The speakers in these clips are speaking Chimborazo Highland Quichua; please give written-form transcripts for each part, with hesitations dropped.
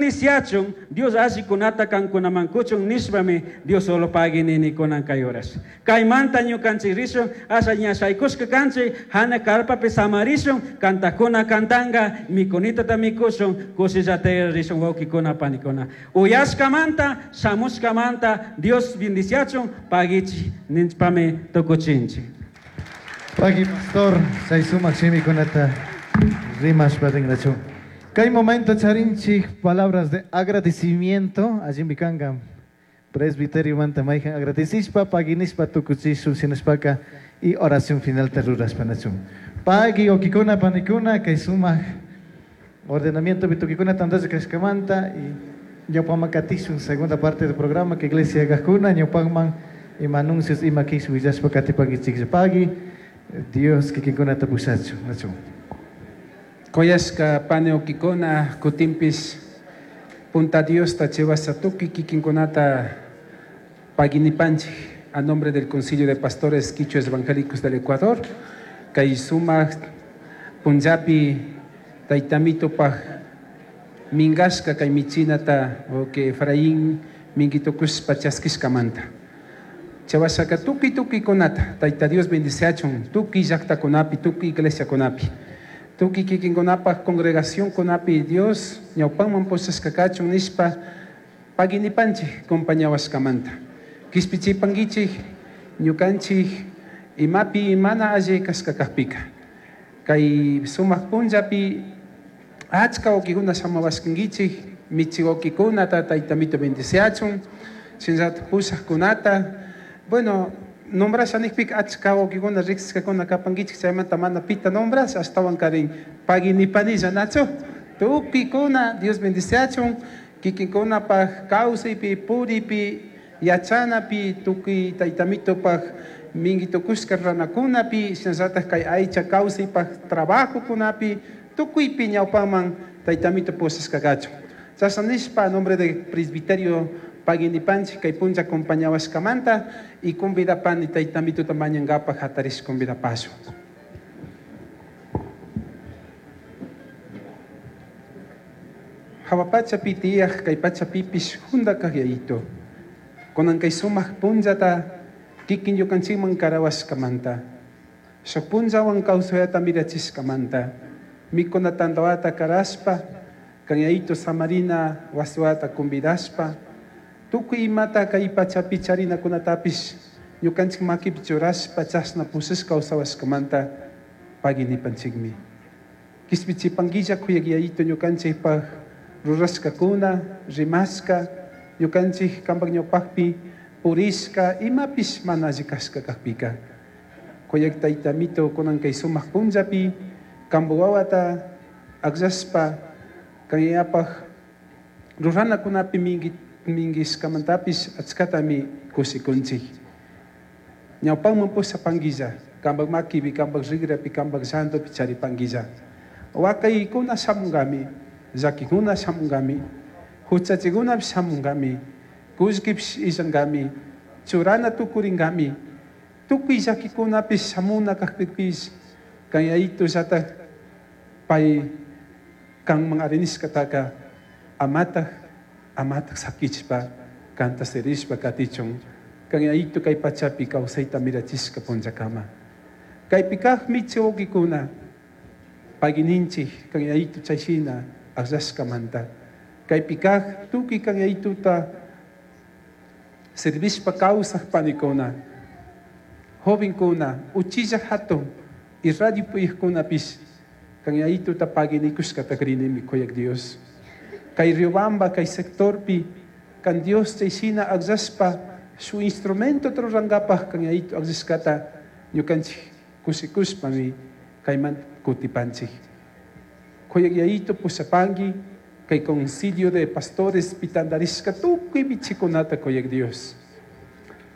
bendiciachun, Dios allikunata kankunaman kuchun nishpami Dios solo pagui nini kunan kay horas. Kaymanta ñukanchik rishun, asha ña shaykushka kanchik, hana carpapi samarishun, kantakuna kantanga, mikunitata mikushun, kushillata rishun wawkikuna panikuna. Uyashkamanta, shamushkamanta, Dios bendiciachun, paguichi nishpami tukuchinchik. Pagui pastor, chay sumak shimikunata rimashpa rinrachu. Kay momento charinchik palabras de agradecimiento, allimi kanka presbiterio manta mayhan agradecishpa, paguinishpa tukuchishun shinashpaka y oración final ta rurashpa nachun. Pagui wawkikuna panikuna kay sumak ordenamiento tukikuna tantalla kashkamanta y ñawpaman katishun segunda parte del programa que iglesia kajkuna ñawpakman ima anuncios ima kish willashpa katipankichiklla. Pagui Dios kikinkunata pushachun nachun. Kuyashka pani wawkikuna kutinpish punta Diosta chivasha tukuy kikinkunata paguinipanchik a nombre del Concilio de Pastores Quichuas Evangélicos del Ecuador kay sumak punllapi taytamitupaj minkashka kay michinata wawki Efraín minkitukushpa chaskishkamanta. Chawashaka tukuy tukuykunata Tayta Dios bendiciachun tukuy llaktakunapi tukuy iglesiakunapi tukuy kikinkunapaj congregacionkunapi Dios ñawpanman pushashka kachun nishpa paguinipanchik compañawashkamanta. Kishpichipankichik ñukanchik imapi mana alli kashka kakpika. Kay sumak punllapi achka wawkikuna shamawashkankichik michi wawkikunata taytamito bendiciachun shinallatak pushakkunata. Bueno, nombrasha nikpika achka wawkikuna riksishkakuna kapankichik chaymanta mana pita nombrasha ashtawan karin paguinipanilla nachu. Tukuykuna Dios bendiciachun kikinkunapaj kawsaypi puripi yachanapi tukuy taytamitupaj minkitukushka ruranakunapi shinallatak kay aycha kawsaypaj trabajokunapi tukuypi ñawpaman taytamito pushashka kachun. Chashna nishpa a nombre de presbiterio paguinipanchik kay punlla acompañawashkamanta y convidapani taytamituta mañankapaj hatarish convidapashun. Hawa pachapi tiyaj kay pachapipish junda kaj yayito. Kunan kay sumak punllata kikin ñukanchikman karawashkamanta. Shuk punllawan kawsayata mirachishkamanta. Mikuna tantawata karashpa, kan yayito samarina wasiwata convidashpa, tukuy imata kay pachapi charinakunatapish ñukanchik makipi churashpa chashna pushashka kawsawashkamanta paguinipanchikmi. Kishpichipankilla kuyak yayito ñukanchikpaj rurashkakuna, rimashka, ñukanchik kanpak ñawpakpi purishka imapish mana alli kashka kakpika. Kuyak taytamito kunan kay sumak punllapi kanpak wawata akllashpa kan yayapaj ruranakunapi minkishkamantapish achkatami kushikunchik. Ñawpanman pushapankilla, kanpak makipi, kanpak rikrapi, kanpak llantupi charipankilla. Wakaykuna shamunkami, llakikuna shamunkami, huchachikunapish shamunkami, kullkipish illankami, churana tukurinkami, tukuy llakikunapish shamuna kakpipish kan yayitullatak pay kanman arinishkataka amatak amatak sakichpa kanta sirishpa katichun kan yayitu kay pachapi kawsayta mirachishka punllakama. Kaypi kaq michi wawkikuna paguininchik kan yayitu chayshina akllashkamanta. Kaypi kaq tukuy kan yayituta servishpa kawsaq panikuna, jovenkuna, uchilla hatun y radio puyaqkunapish kan yayituta paguinikushkata rinimi kuyak Dios. Kay Riobamba, kay sectorpi, kan Dios chayshina akllashpa su instrumento rurankapaj kan yayitu akllashkata ñukanchik kushikushpami kayman kutipanchik. Kuyak yayitu pushapanki kay concilio de pastores pitandarishka tukuy michikunata kuyak Dios.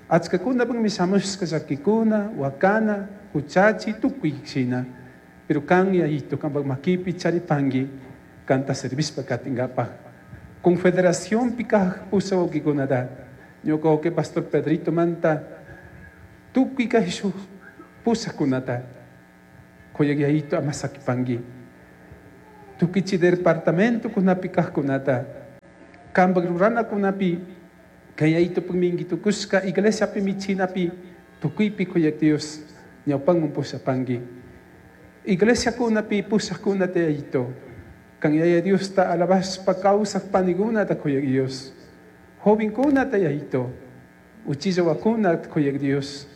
Achkakunapakmi shamushka llakikuna, wakana, huchachi, tukuy shina. Pero kan yayitu kanpak makipi charipanki kanta servishpa katinkapaj. Confederación kaj pusha wawkikunata ñuka wawki pastor Pedrito manta tukuy kay shuk pushakunata kuyak yayitu ama sakipanki. Tukuy chay departamento kunapi kajkunata Kanpak ruranakunapi kay Yayitupuk minkitukushka iglesiapi michinapi tukuypi kuyak Dios ñawpanman pushapanki. Iglesiakunapi pushakkunata Yayito kan Yaya Diosta alabashpa kawsak panikunata kuyak Dios. Jovenkunata Yayito uchilla wakunata kuyak Dios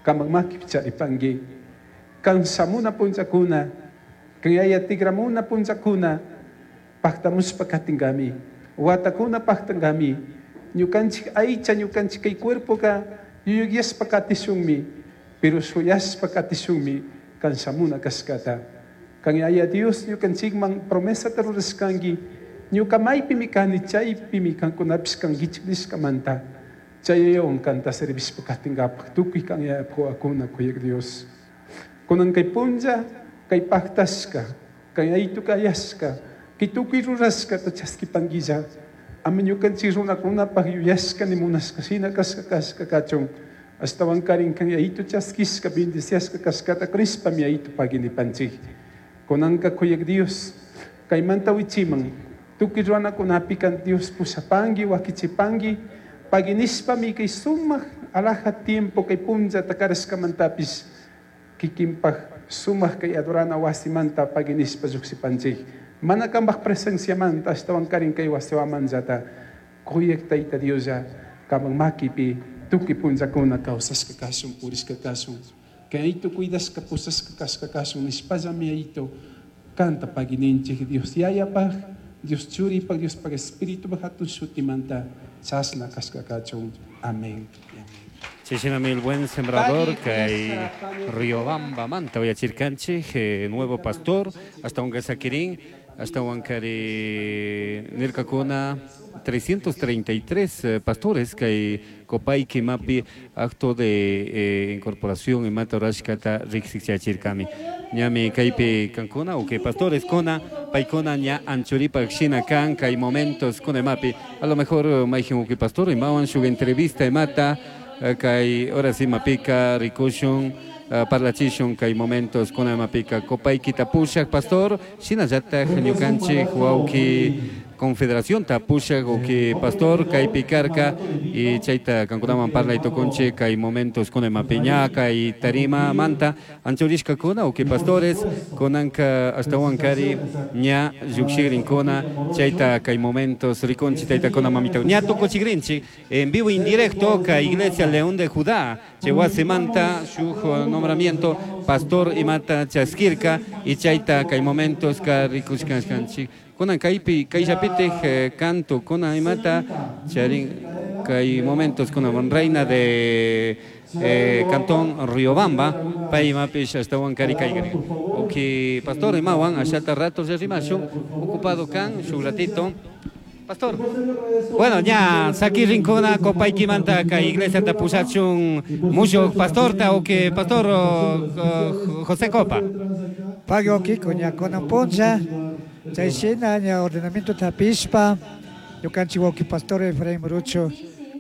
kanpak makipi charipanki. Kan shamuna punllakuna kan Yaya tikramuna punllakuna paktamushpa katinkami. Watakuna paktankami. Ñukanchik aycha ñukanchik kay cuerpoka yuyayashpa katishunmi, pero shuyashpa katishunmi kan shamuna kashkata. Kan Yaya Dios ñukanchikman promesata rurashkanki ñuka maypimi kani chaypimi kankunapish kankichik nishkamanta chaywan kanta servishpa katinkapak tukuy kan Yayapuk wawakuna kuyak Dios. Kunan kay punlla kay paktashka kay Yayitu kayashka kay tukuy rurashkata chaskipankilla ama ñukanchik runakunapak yuyashka ni munashka shina kashka kashka kachun ashtawan karin kan Yayitu chaskishka bendiciashka kashkata crishpami Yayitu paginipanchik. Kunanka kuyak Dios kaymanta wichiman tukuy runakunapi kan Dios pushapanki wakichipanki paginishpami kay sumak alaja tiempo kay punllata karashkamantapish kikinpak sumak kay adorana wasimanta paginishpa llukshipanchik. Mana kanpak presenciamanta ashtawan karin kay wasiwamanllata kuyak Tayta Dioslla kanpak makipi tukuy punllakuna kawsashka kashun purishka kashun kay Yayitu cuidashka pushashka kashka kashun nishpallami Yayitu kanta pagininchik Dios Yayapak Dios Churipak Diospak Espiritupak hatun shutimanta chashna kashka kachun. Amén. Chayshina el buen sembrador kay Riobamba manta uyachirkanchik nuevo pastor hasta un sakirin hasta Huancari nirkakuna 333 pastores kay Copaiqui mapi acto de incorporación imata rurashkata riksichachirkami ñami kaypi kankuna uke pastores kuna paykuna ña anchuripak shina kan kay momentos kuna mapi a lo mejor mayjin uke pastor imawan shuk entrevista imata kay ahora sí mapika rikushun parlachishun kay momentos kuna mapika Copaiqui tapushak pastor shinallatak ñukanchik wawki Confederación tapushak uki pastor kaypi karka y chayta kankunaman parlay tukunchik kay momentos kuna mapiña kay tarima manta anchurishkakuna uki pastores kunanka ashtawan kari ña llukshigrinkuna chayta kay momentos rikunchik taytakuna mamita ña tukuchigrinchik en vivo en directo kay Iglesia León de Judá chay wasimanta shuk nombramiento pastor imata chaskirka y chayta kay momentos ka rikushkanchik kunan kaypi kayllapitik canto kuna imata charin kay momentos kuna reina de cantón Riobamba pay imapish ashtawan kari kaygrin uki pastor imawan ashata rato rimashun ocupado kan shuk ratito pastor. Bueno, ya saki rinkuna Copaiquimanta kay iglesia ta pushachun mushuq pastorta uki pastor José Copa. Pagui uki ña kunan punlla chay shina ña ordenamiento tapishpa ñukanchik wawki pastor Efraín Rucho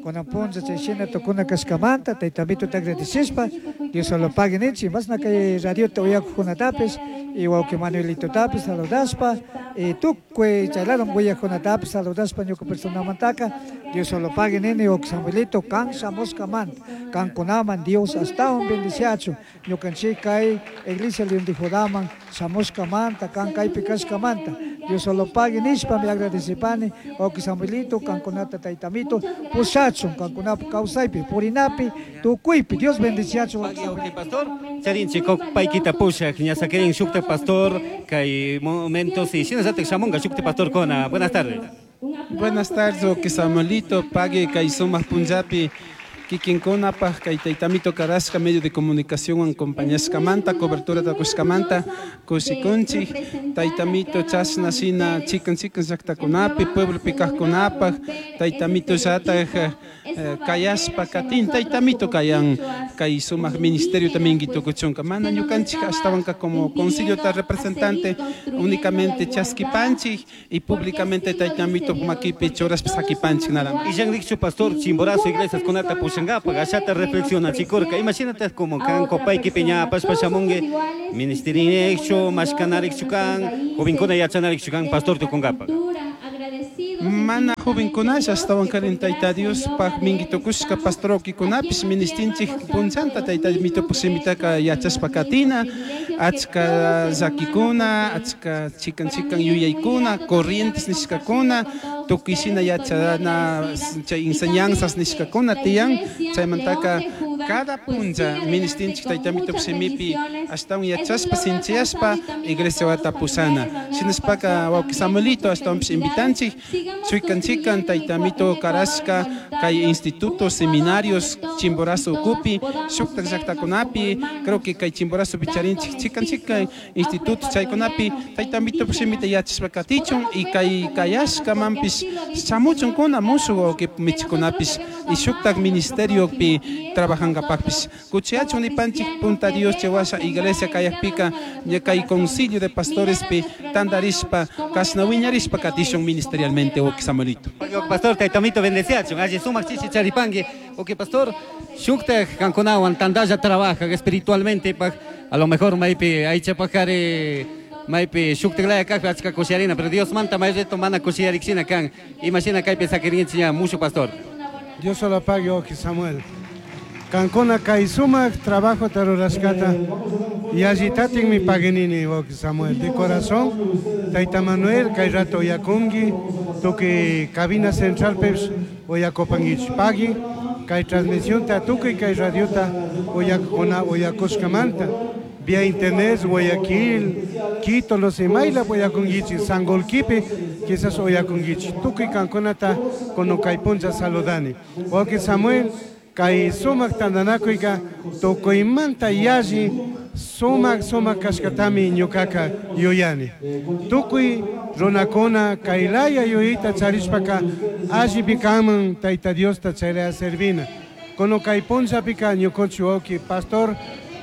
kunan punlla chay shina tukuna kashkamanta taytamito ta agradecishpa Dios solo pague ninchik masna kay radiota uyakuqkunatapis y wawki Manuelitotapis saludashpa y tukuy chaylawan willaqkunatapis saludashpa ñuka personamantaka Dios solo pague nini wawki Samuelito kan shamushkamanta kankunaman Dios ashtawan bendiciachun ñukanchik kay Iglesia León de Judaman shamushkamanta kan kaypi kashkamanta Dios solo pague nishpami agradecipani wawki Samuelito kankunata taytamito pushachun kankunapa kawsaypi purinapi tukuypi Dios bendiciachun. Wawki pastor charinchik Copaiquita pushak ña sakirin shukta pastor kay momentos y shinallatak shamunga shukta pastor kona. Buenas tardes. Buenas tardes, wawki Samuelito, pague kay sumak punllapi kikinkunapaj kay taytamito karashka medio de comunicación acompañashkamanta cobertura takushkamanta kushikunchik taytamito chashna shina chikan chikan llaktakunapi pueblopi kajkunapaj taytamito llatak kayashpa katin taytamito kayan kay sumak ministerio también tukuchunka mana ñukanchik ashtawanka como concilio ta representante únicamente chaskipanchik y públicamente taytamito makipi churashpa sakipanchik nada más. Y llanrikchu pastor Chimborazo iglesias kunata pushankapaj ashata reflexionachikurka imagínate como kan Copaiqui piñapashpa shamunki ministeririkchu mashkanarikchu kan jovenkuna yachanarikchu kan pastor tukunkapaj. Mana jovenkunalla ashtawankarin Tayta Diospaq minkitukushka pastor wawqikunapis ministinchik punchanta Tayta Mitupak shimitaka yachashpa katina, achka llakikuna, achka chikan chikan yuyaykuna, corrientes nishkakuna, tukuy shina yachana chay enseñanzas nishkakuna tiyan, chaymantaka cada puncha ministinchik Tayta Mitupak shimipi ashtawan yachashpa sinchiyashpa iglesia wata pushana. Shinashpaka wawqi Samuelito ashtawanpish invitanchik chikan chikan Tayta Mito karashka kay institutos, seminarios Chimborazo ukupi, shuktak llaktakunapi, creo que kay Chimborazopi charinchik chikan chikan institutos chaykunapi Tayta Mitupak shimita yachashpa katichun y kay kayashkamanpish shamuchunkuna mushuk wawqi michikunapish y shuktak ministeriopi trabajankapakpish. Kuchiyachun nipanchik punta Dios chay washa iglesia kayakpika ña kay concilio de pastorespi tandarishpa kashna wiñarishpa katishun ministerialmente wawqi Samuelito. Pastor Tayta Mito bendeciachun, alli sumak chichi charipanki. Ok, pastor, shuktak kankunawan tandalla trabaja espiritualmente pak, a lo mejor maypi aychapakari maypi shuktaklaya kajpi achka kushiarina, pero Dios manta may reto mana kushiarikshina kan. Imashina kaypi sakirinchik ña mushu pastor. Dios solo pague, ok, Samuel. Kankuna kay sumak trabajo tarurashkata y allitatin mi paguenini, ok, Samuel. De corazón, Tayta Manuel, kay rato oyakungi, tuki cabina central peps oyakopanguich pagui, kay transmisión ta tuki kay radiota oyakuna oyakushkamanta. Vía internet, Guayaquil, Quito, no sé, Mayla, oyakunguichi, Sangolquipe, quizás oyakunguichi. Tuki kankunata konokaypuncha saludani. Ok, Samuel, kay sumak tandanakuika tukuymanta yalli sumak sumak kashkatami ñukaka yuyani. Tukuy runakuna kaylaya yuyayta charishpaka allipi kanman Tayta Diosta chaylaya servina. Kono kay punchapika ñukunchik wawqi pastor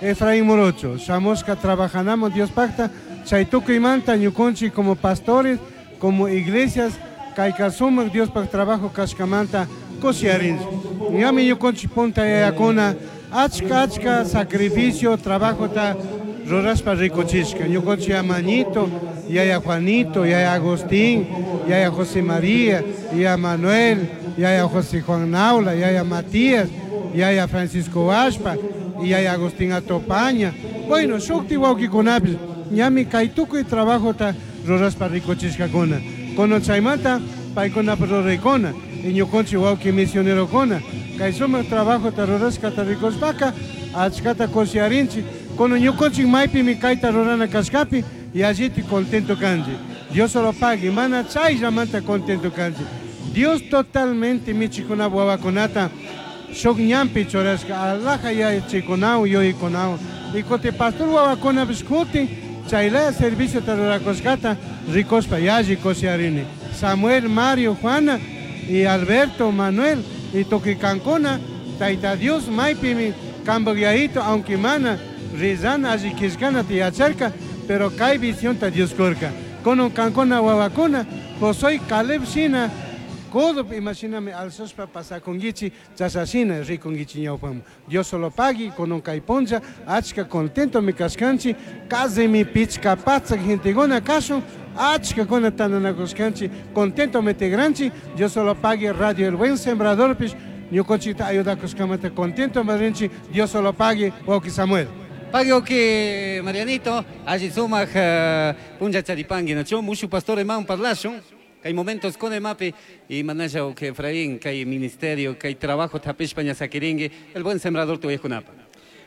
Efraín Morocho, shamushka trabajanamo Dios pacta, chay tukuymanta ñukunchik como pastores, como iglesias, kayka sumak Dios pak trabajo kashkamanta kushiarinchik. Ñami ñukunchik punta yayakuna achka achka sacrificio, trabajo ta rurashpa rikuchishka. Ñukunchik Amañito, yaya Juanito, yaya Agustín, yaya José María, yaya Manuel, yaya José Juan Naula, yaya Matías, yaya Francisco Ashpa, y yaya Agustín Atopaña. Bueno, shukti wawqikunapis ñami kay tukuy trabajo ta rurashpa rikuchishkakuna. Kono chaymanta paykunapa ruraykuna, y ñukunchik wawqi misionerokuna. Kay sumak trabajo ta rurashkata rikushpaka achkata kushiarinchik. Kono ñukunchik maypimi kayta rurana kashkapi y alliti contento kanchik. Dios solo pague, mana chayllamanta contento kanchik. Dios totalmente michikuna wawakunata shuk ñanpi churashka, alaja yachachikunau, yuyaykunau. Y kuti pastor wawakunapis kutin chaylaya servicio ta rurakushkata rikushpa yalli kushiarini. Samuel, Mario, Juana y Alberto, Manuel y tukuy kankuna, Tayta Dios maypimi kanpak yayito, aunque mana rizana alli killkanata yacharka, pero kay visionta Dios kurka. Kono kankuna wawakuna, posoy Caleb shina, codo imashinami alzashpa pasakunguichi, chasashina rikunguichi ñawpaman. Dios solo pagui, kono kay puncha, achka contento mi kashkanchi, kasimi pichka patsak genteguna kashun, achka kuna tandanakushkanchi, contento me tigranchi, Dios solo pagui Radio El Buen Sembrador pish, ñukunchikta ayudakushkamanta contento marinchi, Dios solo pagui, wawqi Samuel. Pagui wawqi Marianito, alli sumak puncha charipangi, nachu mushu pastor eman parlashun. Kay momentos con emapi y manaya que Efraín, kay ministerio, kay trabajo tapishpa ña sakiringi, el buen sembrador tu kunapa.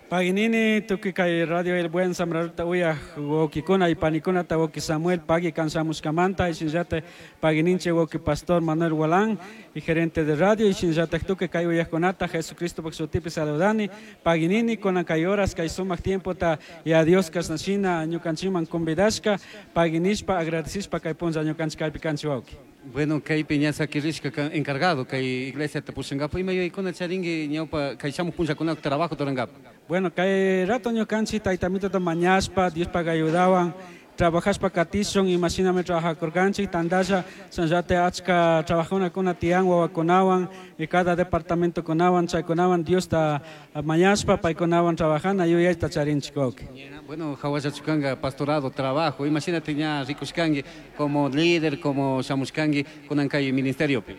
Paginini, tuki kay radio el buen sembrador ta uya wawqikuna y panikuna ta wawqi Samuel pagui kansamushkamanta y shinllata pagininche wawqi pastor Manuel Gualán y gerente de radio y shinllata tuki kay uyakunata Jesucristo pak shutipi saludani paginini kuna kay horas kay sumak tiempo ta y a Dios kasnashina ñukanchikman convidashka paginishpa agradecishpa kay punlla ñukanchik kaypi kanchik wawqi. Bueno, kaypi ña sakirishka encargado kay iglesia ta pushankapa ima yuyaykuna charinki ñawpa kay shamuq punllakuna trabajo turankapak. Bueno, kay rato ñukanchik Tayta Mitota mañashpa, Dios paga ayudawan, Trabajashpa katishun imashinami trabajakurkanchik tantalla shinallata achka trabajunakuna tiyan wawakunawan y cada departamentokunawan chaykunawan Diosta mañashpa paykunawan trabajana yuyayta charinchik wawki. Bueno, hawallachukanga pastorado, trabajo, imagínate ña rikushkanki como líder, como shamushkanki kunan kay ministeriopi.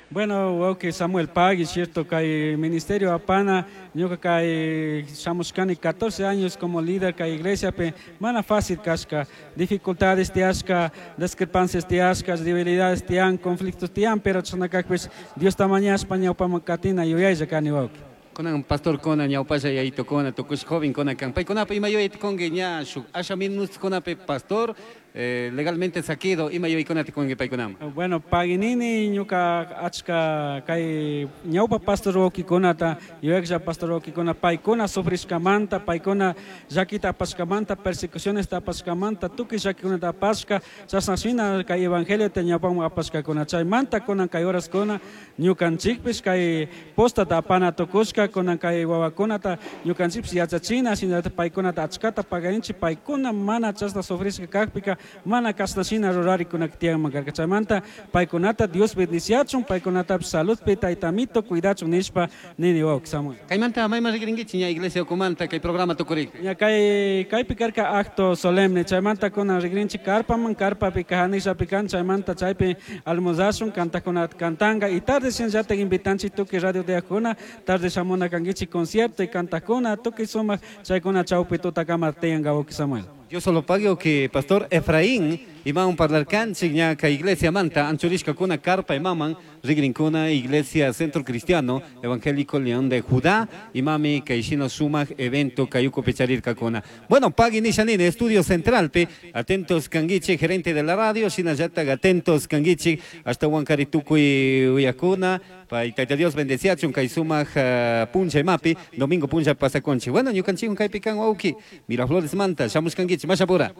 Bueno, wawki Samuel pagui, cierto, kay ministerio apana, ñuka kay shamushkani 14 años como líder kay iglesia pe mana fácil kashka, dificultades tiyashka, discrepancias tiyashka, debilidades tiyan, conflictos tiyan, pero chashna kakpish Diosta mañashpa ñawpaman katina yuyaylla kani wawki. Kunan pastor kona ñawpalla yayito kona tukush joven kona kan paykunapa ima yuyayta kunki ña shuk asha minutokunapi pastor legalmente saquido ima yuyaykunata kunki paykunaman. Bueno, paginini ñuka achka kay ñawpa pastor wawkikunata yuyaklla pastor wawkikuna paykuna sufrishkamanta, paykuna llakita apashkamanta, persecucionesta apashkamanta, tukuy llakikunata apashka, chashna shina kay evangeliota ñawpaman apashkakuna. Chaymanta kunan kay horaskuna ñukanchikpish kay postata apana tukushka, kunan kay wawakunata ñukanchikpish yachachina, shinallata paykunata achkata pagarinchik, paykuna mana chashna sufrishka kakpika mana kashna shina rurarikuna tiyanman karka. Chaymanta paykunata Dios bendiciachun, paykunatapish saludpi taytamito cuidachun nishpa nini wawki Samuel. Kaymanta mayman rikrinkichik ña iglesia ukumanta kay programa tukurikpi. Ña kay kaypi karka acto solemne, chaymanta kunan rikrinchik karpaman, karpapi kajanishapi kan, chaymanta chaypi almorzashun, kantakuna kantanga y tarde shinallata invitanchik tukuy radio tiyakuna, tarde shamuna kankichik concierto y kantakuna, tukuy sumak chaykuna chawpi tutakama tiyanka wawki Samuel. Dios solo pague que pastor Efraín iman parlar kanchik ña kay iglesia manta anchurishkakuna karpa imaman rigrinkuna iglesia Centro Cristiano Evangélico León de Judá imami kay shina sumak evento kayuku picharirkakuna. Bueno, pagui nishanini estudio centralpi atentos kanguichi gerente de la radio shinallata atentos kanguichi hasta Huancari tukuy uyakuna pay tayta Dios bendeciachun kay sumak puncha imapi domingo puncha pasaconchi. Bueno, ñukanchikun kaypi kan wawki Miraflores manta shamushkankichik mashapura.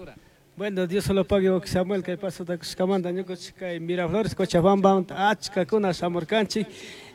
Bueno, Dios solo pague wawki Samuel kay pasota kushkamanta ñukanchik kay Miraflores Cochabamba achkakuna shamurkanchik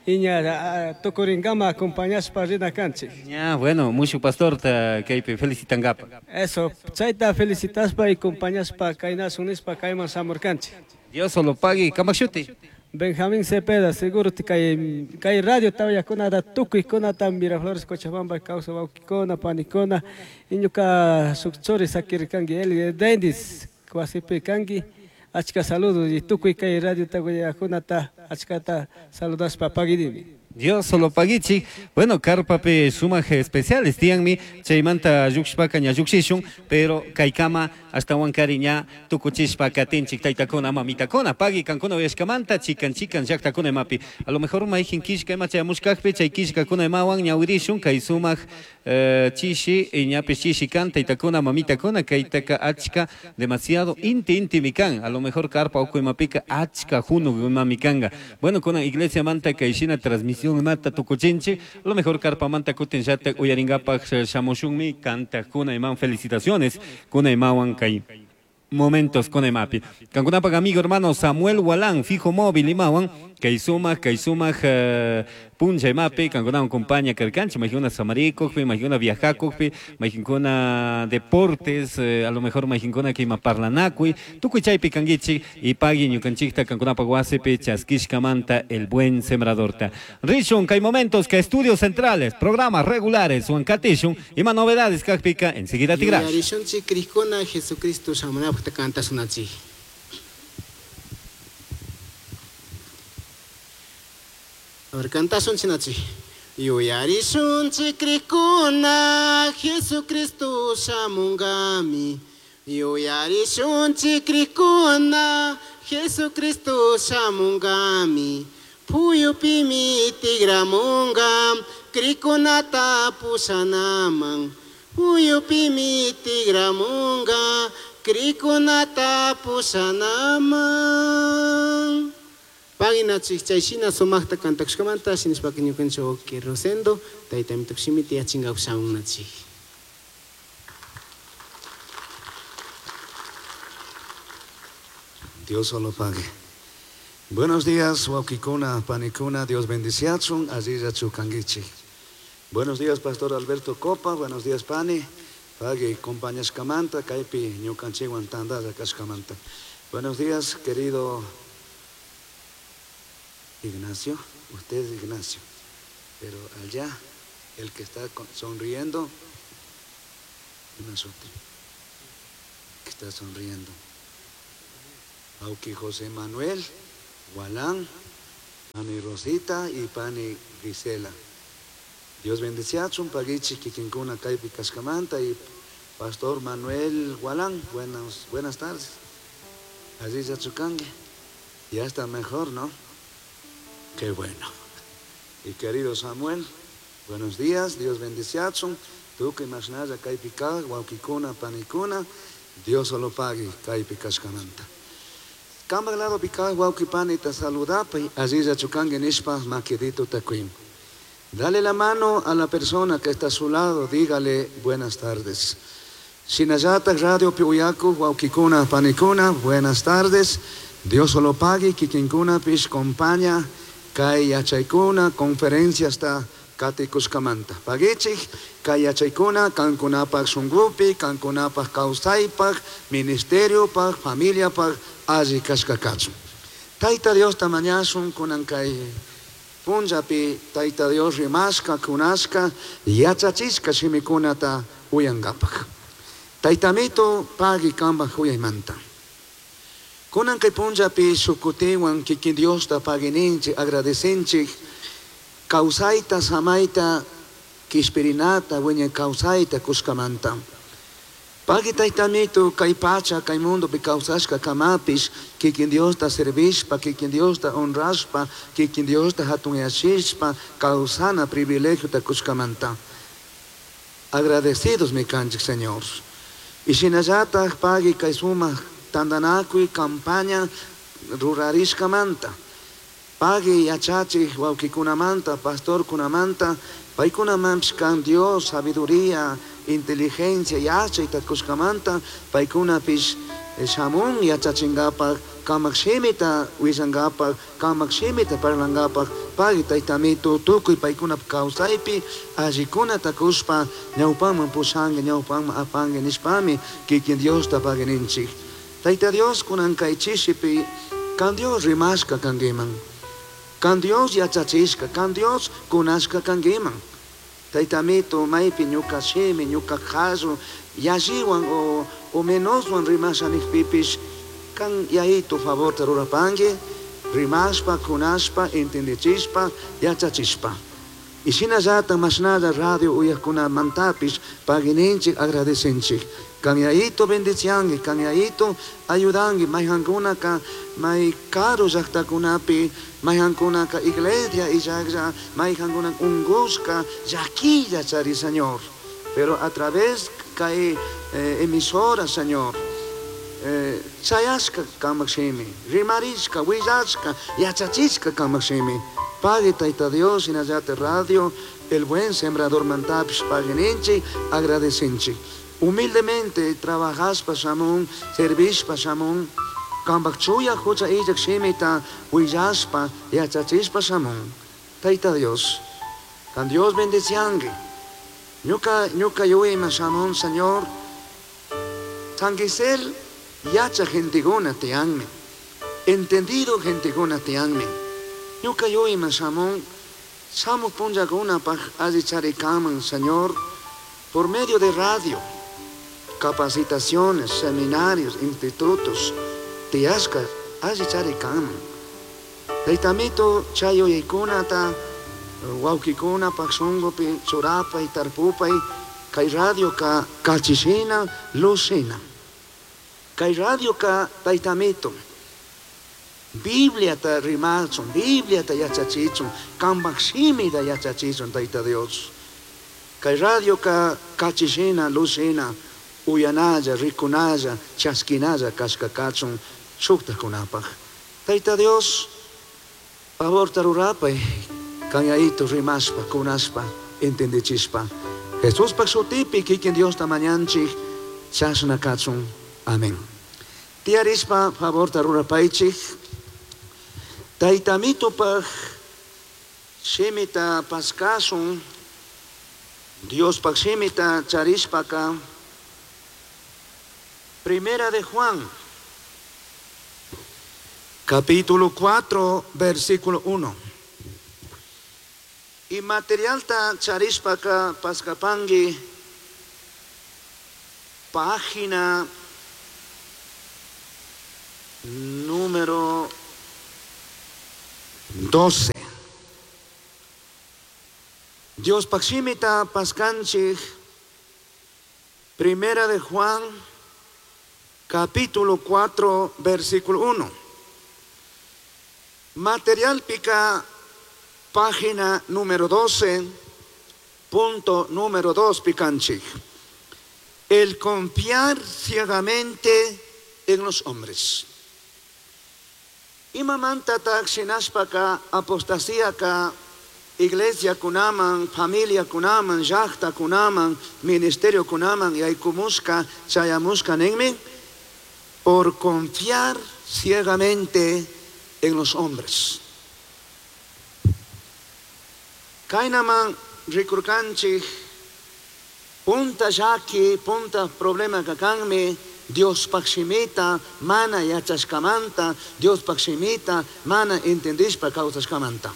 y ña tukuringama acompañashpa rina kanchik. Ña, bueno, mucho pastor ta kaypi felicitangapa. Eso, chayta felicitaspa y acompañashpa kaynasun nishpa kayman shamurkanchik. Dios solo pague, kamashuti. Benjamín Cepeda, seguro te kay radio tawayakuna tukuykuna Miraflores Cochabamba kawsa wawkikuna panikuna iñuka shuk churi sakirkanki el Dendis wasipi kanki achka saludos y tukuy kay radio tawayakunata achkata saludashpa paguinimi. Dios solo paguichi. Bueno, karpapi sumak especiales tiyanmi chaymanta llukshpaka ña llukshishun, pero kaykama hasta Huancari ña tukuchishpa katinchik taytakuna mamitakuna pagui kankuna uyashkamanta chikan chikan llaktakuna imapi. A lo mejor mayjin kishka ima chayamushkakpi chay kishkakuna imawan ñawirishun kay sumak chishi ñapish chishi kan taytakuna mamitakuna kaytaka achka demasiado inti intimi kan. A lo mejor karpa uku imapika achka junu imami kanga. Bueno, kuna iglesia manta kay shina transmisión mata tukuchinchi, a lo mejor karpamanta kutin llata uyaringapaj shamushunmi kantakuna iman felicitaciones kuna imawan kay momentos con imapi. Kankunapak amigo hermano Samuel Walán, fijo móvil imawan, kay sumak puncha imapi, kankunawan compañía karkanchi, majikuna samarikukpi, majikuna viajakukpi, majikuna deportes, a lo mejor majikuna que ima parlanakui, tukuy chaypi kankichik y pagui ñukanchikta kankunapak wasipi chaskishkamanta el buen sembradorta. Rishun, kay momentos que estudios centrales, programas regulares, huancatishun, ima novedades kakpika, enseguida tigrash. Yuyarishunchik krikuna Jesucristo shamunapaq kantasunachik. A ver, cantasun chinachi. Yuyarishunchik krikuna Jesucristo shamungami. Yuyarishunchik krikuna Jesucristo shamungami. Puyupimi tigramunga krikunata pushanaman. Puyupimi tigramunga krikunata pushanaman. Paginachik chayshina sumaqta kantakushkamanta shinashpaka ñukanchik wawqi Rosendo taytamito shimita yachinkapak shamunachik. Dios solo pague. Buenos días, wawqikuna, panikuna, Dios bendiciachun, allilla chukanguichik. Buenos días, Pastor Alberto Copa, buenos días, Pani. Pagui compañashkamanta kaypi ñukanchikwan tantalla kashkamanta. Buenos días, querido Ignacio. Usted es Ignacio. Pero allá, el que está sonriendo, que está sonriendo. Auki José Manuel, Gualán, Pani Rosita y Pani Gisela. Dios bendeciachun, pagichi kikinkuna kaypi kashkamanta y Pastor Manuel Gualán, buenas tardes. Allí chukangue. Ya está mejor, ¿no? Qué bueno. Y querido Samuel, buenos días, Dios bendeciachun. Tukuy mashnalla kaypi kaq, wawkikuna, panikuna, Dios solo pague kaypi kashkamanta. Kambaj lado kaq wawki panita saludapay, allilla chukangue nishpa maquidito takuim. Dale la mano a la persona que está a su lado, dígale buenas tardes. Shinallata Radio Piuyaku, wawkikuna, panikuna, buenas tardes. Dios solo pague, kikinkuna pish compaña, kay yachaykuna, conferencia hasta katikushkamanta. Pagichik, kay yachaykuna, kankunapaj shunkupi, kankunapaj kawsaypaj, ministeriopaj, familiapaj, alli kashka kachun. Tayta Dios tamañasun kunan kay punllapi Tayta Dios rimashka, kunashka, yachachishka shimikunata uyankapaj. Taytamito pagi kambaj uyaymanta. Kunan kay punllapi shukutiwan kikin Diosta pagininchik, agradecinchik, kawsayta, samayta, kishpirinata, wiñay kawsayta kushkamanta. Pagi taytamito kay pacha, kay mundopi kawsashka kamapish, kikin Diosta servishpa, kikin Diosta honrashpa, kikin Diosta hatunyashishpa, kawsana privilegiota kushkamanta. Agradecidos mi kanchik, Señor. Y shinallataj pagi kay sumak tantanakuy campaña rurarishkamanta. Pagi yachachik wawkikunamanta, pastorkunamanta, paykunamanpish kan Dios, sabiduría, inteligencia, yachayta kushkamanta, paykunapish shamun yachachinkapak, kamak shimita willankapak, kamak shimita parlankapak, pagi taytamito tukuy paykunap kawsaypi allikunata kushpa ñawpaman pushanki, ñawpaman apanki nishpami kikin Diosta pagininchik. Tayta Dios kunan kay chishipi kan Dios rimashka kankiman, kan Dios yachachishka, kan Dios kunashka kankiman. Taytamito maypi ñuka shimi, ñuka qallu yalliwan o menoswan rimasha nijpipish kan yayito favorta rurapanki, rimashpa, kunashpa, entendechishpa, yachachishpa. Y shinallata mashnalla radio uyajkunamantapish pagininchik, agradecinchik. Kan yayito bendicianki, kan yayito ayudanki, mayjankunaka may karu llaqtakunapi, mayjankunaka iglesia illaqlla, mayjankuna unqushka, llakilla chari, Señor. Pero a través kay emisora, Señor, chayashka kamak shimi, rimarishka, willashka, yachachishka kamak shimi. Pague Tayta Dios, shinallata radio, el buen sembrador mantapish pagininchik, agradecinchik. Humildemente trabajaspa shamun, servishpa shamun, kambaj chuya hucha illak shimita willashpa, yachachishpa shamun. Tayta Dios, kan Dios bendicianki. Ñuka, ñuka yuyayman shamun, Señor, San Gisel yacha genteguna tiyanmi, entendido genteguna tiyanmi. Ñuka yuyayman shamun, shamuj punllakunapaj alli charikaman, Señor, por medio de radio, capacitaciones, seminarios, institutos, tiyashka alli charikaman. Taytamito chay yuyaykunata wawkikunapaj shunkupi churapay, tarpupay, kay radioka kachishina, luzshina. Kay radioka taytamito Bibliata rimachun, Bibliata yachachichun, kambaj shimita yachachichun, Tayta Dios. Kay radioka kachishina, luzshina, uyanalla, rikunalla, chaskinalla kashka kachun shuktakunapaj. Tayta Dios, favorta rurapay, kan yayito rimashpa, kunashpa, entendechishpa. Jesuspaj shutipi kikin Diosta mañanchik, chashna kachun. Amén. Tiyarishpa, favorta rurapaychik. Taytamitopaj shimita paskasun, Diospaj shimita charishpaka, Primera de Juan, capítulo 4, versículo 1. Y materialta charishpaka paskapangui, página número 12. Dios pakshimita paskanchik, Primera de Juan, capítulo 4, versículo 1. Material pica, página número 12, punto número 2, picanchik. El confiar ciegamente en los hombres. Imamanta tak shinashpaka apostasíaka iglesia kunaman, familia kunaman, llaqta kunaman, ministerio kunaman, yaykumusqa, chayamusqa ninmi, por confiar ciegamente en los hombres. Kaynaman rikurkanchik, punta llaki, punta problema kakanmi, Dios shimita mana yachashkamanta, Dios shimita mana entendishpa kawsashkamanta.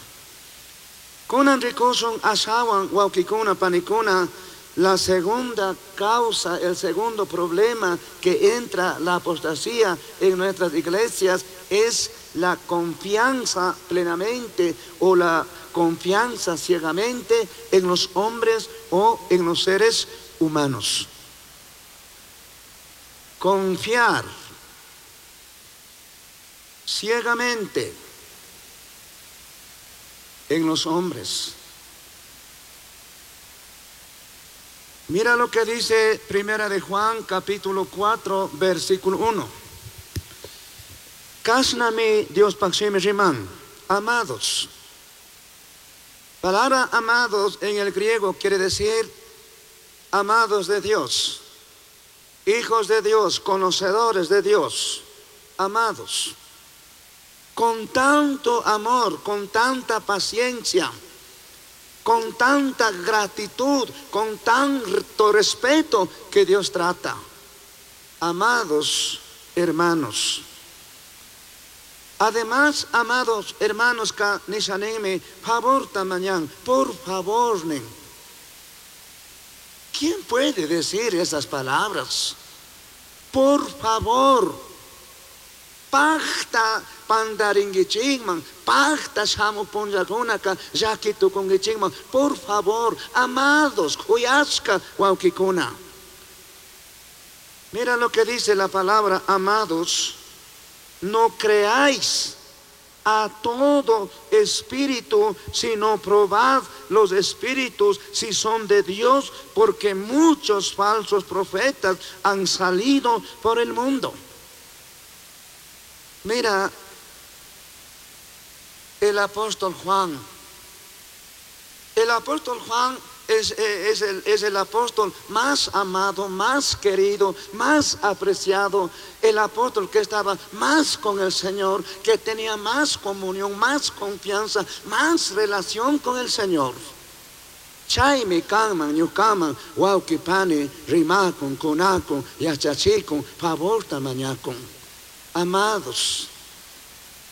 Kunan rikushun ashawan wawkikuna panikuna, la segunda causa, el segundo problema que entra la apostasía en nuestras iglesias es la confianza plenamente o la confianza ciegamente en los hombres o en los seres humanos. Confiar ciegamente en los hombres. Mira lo que dice Primera de Juan, capítulo 4, versículo 1. Kasnami Dios pakshimi riman, amados. Palabra amados en el griego quiere decir amados de Dios, hijos de Dios, conocedores de Dios, amados. Con tanto amor, con tanta paciencia, con tanta gratitud, con tanto respeto que Dios trata. Amados hermanos. Además, amados hermanos, ka nishaneme, favor tamañán, por favor, nen. ¿Quién puede decir esas palabras? Por favor. Pacta pandaringuichikman, pacta shamu punllakunaka llaki tukunguichikman, por favor, amados, kuyashka wawkikuna. Mira lo que dice la palabra, amados, no creáis a todo espíritu, sino probad los espíritus si son de Dios, porque muchos falsos profetas han salido por el mundo. Mira, el apóstol Juan. El apóstol Juan es el apóstol más amado, más querido, más apreciado. El apóstol que estaba más con el Señor, que tenía más comunión, más confianza, más relación con el Señor. Chaymi kanman, ñukaman, wawqi pani, rimakun, kunakun, yachachikun, favorta mañakun. Amados,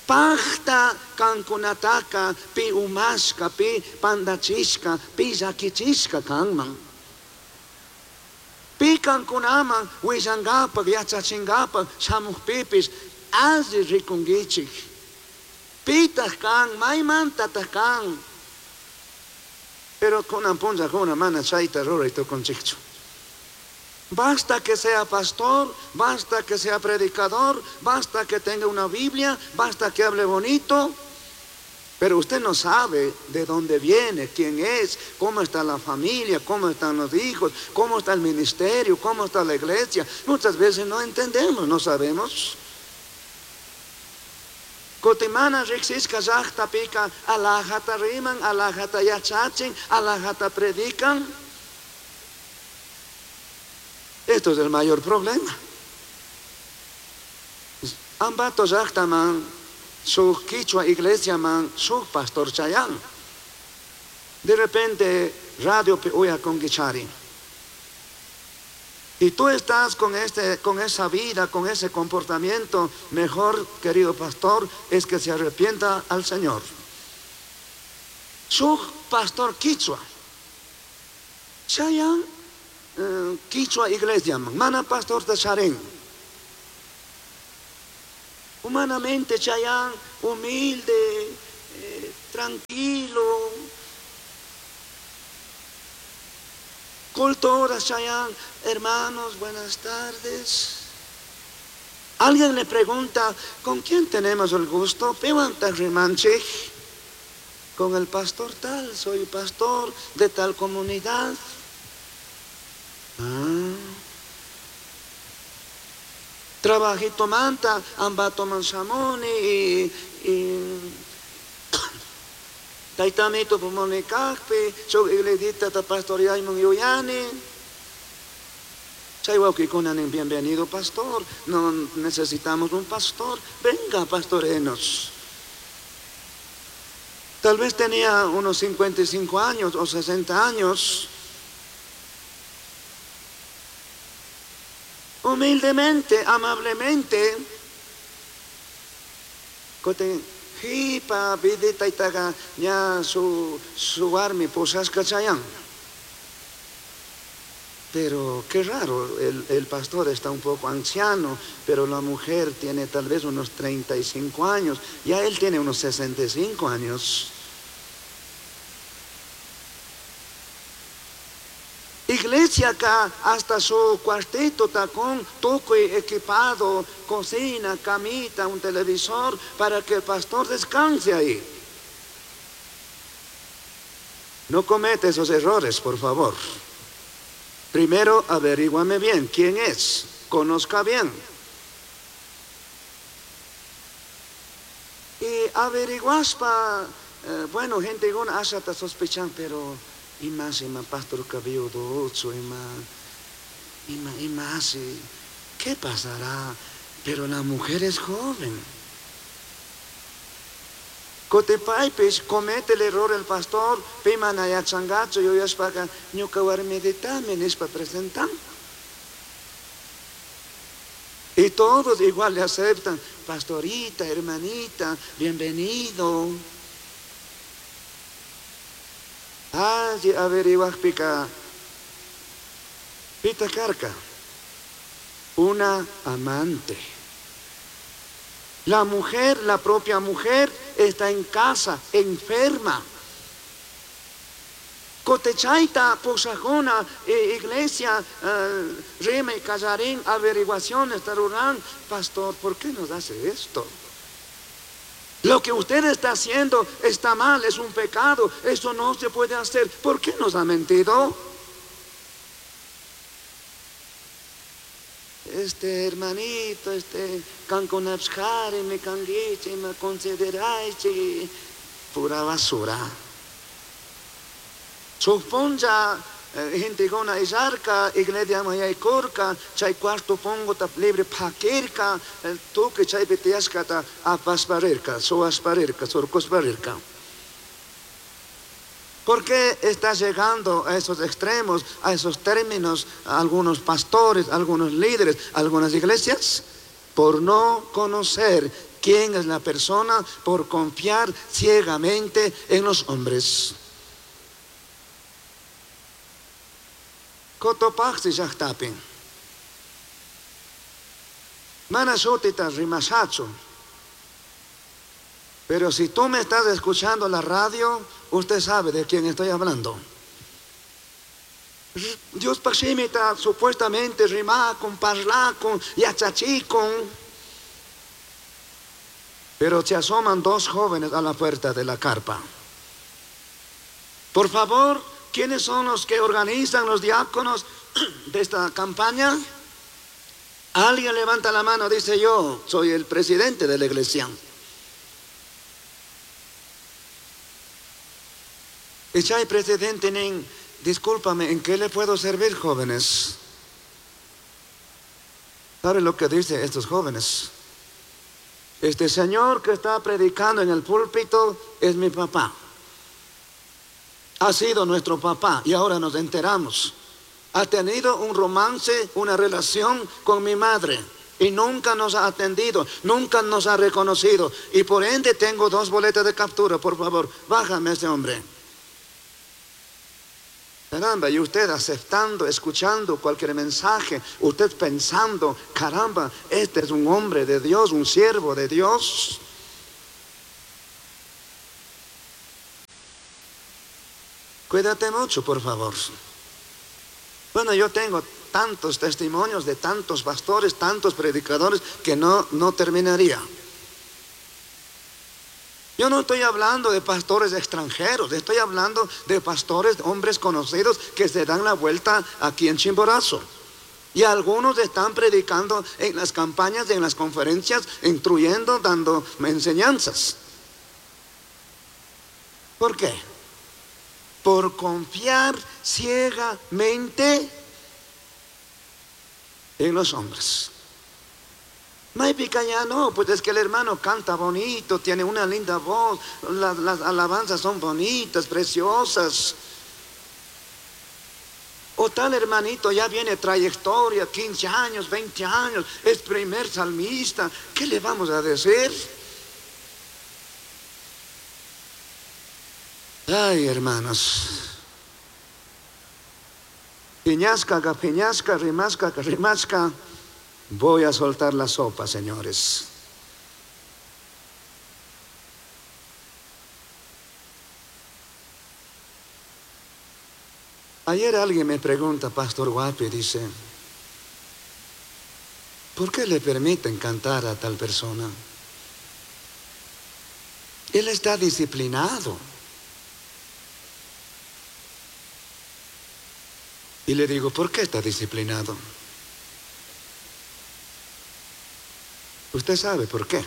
pacta kankunataka, pi umashka, pi pandachishka, pi llakichishka kanman. Pi kankunaman willangapak, yachachingapak, shamuqpipis, alli rikunkichik. Pitaq kan, maymantataq kan. Pero kunan punllakuna mana chayta ruray tukunchikchu. Basta que sea pastor, basta que sea predicador, basta que tenga una Biblia, basta que hable bonito. Pero usted no sabe de dónde viene, quién es, cómo está la familia, cómo están los hijos, cómo está el ministerio, cómo está la iglesia. Muchas veces no entendemos, no sabemos. Kutimana riksishka llaqta pika, alajata riman, alajata yachachin, alajata predican. Esto es el mayor problema. Ambato llaqtaman, su quichua iglesia man, su pastor chayan. De repente, radio pe uya con guichari. Y tú estás con esa vida, con ese comportamiento, mejor, querido pastor, es que se arrepienta al Señor. Su pastor quichua. Chayan quichua iglesia, mana pastor de Sharen. Humanamente Chayán, humilde, tranquilo. Cultura Chayán, hermanos, buenas tardes. Alguien le pregunta, ¿con quién tenemos el gusto? Piwanta rimanchik. Con el pastor tal, soy pastor de tal comunidad. Ah. Trabajito manta, ambato mansamoni y taitamito pumonikakpi, soy igledita ta pastor Yaimon Yuyani. Chay wauqikunanin, bienvenido pastor, no necesitamos un pastor, venga pastorenos. Tal vez tenía unos 55 años o 60 años. Humildemente, amablemente, koten hipa vidita itaga ña su armi posasca chayán. Pero qué raro, el pastor está un poco anciano, pero la mujer tiene tal vez unos 35 años, ya él tiene unos 65 años. Iglesia acá, hasta su cuartito tacón, tuco equipado, cocina, camita, un televisor, para que el pastor descanse ahí. No comete esos errores, por favor. Primero, averíguame bien quién es, conozca bien. Y averiguaspa, bueno, gente con asa ta sospechan, pero y más, y más pastor cabello ocho, y más, y más, y más, y, ¿qué pasará? Pero la mujer es joven. Cotepaipis comete el error el pastor, pimana ya changacho, yo ya espaga, ñuka warmeditame, nispa presentan. Y todos igual le aceptan, pastorita, hermanita, bienvenido. Ay, averiguas pica, pita carca, una amante. La mujer, la propia mujer, está en casa, enferma. Cotechaita, posajona, iglesia, rima y callarín, averiguaciones, tarurán. Pastor, ¿por qué nos hace esto? Lo que usted está haciendo está mal, es un pecado, eso no se puede hacer. ¿Por qué nos ha mentido? Este hermanito, este canconapsjare, me canguiche, me consideraiche, pura basura. Suponja, gente con isarca, iglesia maya y corca, chay cuarto pongo ta libre paquerca, el toque chay betiasca ta apasparerca, soasparerca, sorcosparerca. ¿Por qué está llegando a esos extremos, a esos términos, a algunos pastores, a algunos líderes, a algunas iglesias? Por no conocer quién es la persona, por confiar ciegamente en los hombres. Cotopaxi llaqtapi. Mana sutita rimashachu. Pero si tú me estás escuchando la radio, usted sabe de quién estoy hablando. Dios pachimita supuestamente rimacon, parlacon, yachachicon. Pero se asoman dos jóvenes a la puerta de la carpa. Por favor, ¿quiénes son los que organizan los diáconos de esta campaña? Alguien levanta la mano, dice yo, soy el presidente de la iglesia. Y chay presidente, nin, discúlpame, ¿en qué le puedo servir, jóvenes? ¿Sabe lo que dicen estos jóvenes? Este señor que está predicando en el púlpito es mi papá. Ha sido nuestro papá y ahora nos enteramos. Ha tenido un romance, una relación con mi madre. Y nunca nos ha atendido, nunca nos ha reconocido. Y por ende tengo 2 boletas de captura, por favor, bájame a ese hombre. Caramba, y usted aceptando, escuchando cualquier mensaje, usted pensando, caramba, este es un hombre de Dios, un siervo de Dios. Cuídate mucho, por favor. Bueno, yo tengo tantos testimonios de tantos pastores, tantos predicadores, que no terminaría. Yo no estoy hablando de pastores extranjeros, estoy hablando de pastores, hombres conocidos que se dan la vuelta aquí en Chimborazo. Y algunos están predicando en las campañas, en las conferencias, instruyendo, dando enseñanzas. ¿Por qué? Por confiar ciegamente en los hombres. Maypica ya no, pues es que el hermano canta bonito, tiene una linda voz, las alabanzas son bonitas, preciosas. O tal hermanito ya viene trayectoria, 15 años, 20 años, es primer salmista, ¿qué le vamos a decir? Ay, hermanos. Piñasca, piñasca, rimasca, rimasca. Voy a soltar la sopa, señores. Ayer alguien me pregunta, Pastor Guapi, dice, ¿por qué le permiten cantar a tal persona? Él está disciplinado. Y le digo, ¿por qué está disciplinado? Usted sabe por qué.